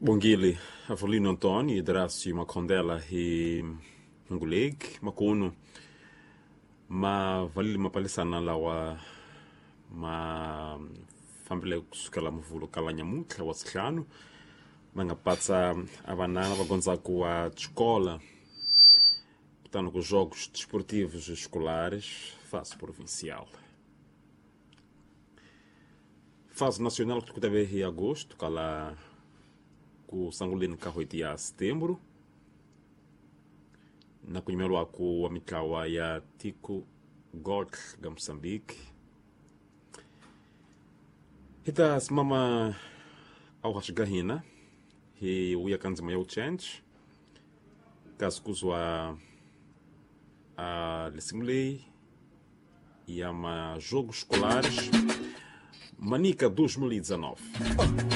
Bongile Avelino Antônio e Drácio Makondela hi Ngulegi Makunu ma valile mapalisana lawa ma fambile kusukela muvhulo kala nyamuntlha wa sihlanu va nga patsa a vanana va gondzaku wa xikola kutani ku jogos desportivos escolares fase provincial, fase nacional ku ta ve hi agosto kala ku sanguleni ka n'hweti ya setembro na ku nyimeriwaku wa mitlawa ya tiko gold ga Moçambique. Hi ta simama awuhaxi ga hina hi wuya ka ndzima ya wuchange kasi kuzwa a lisimu leyi ya majogos escolares Manica 2019.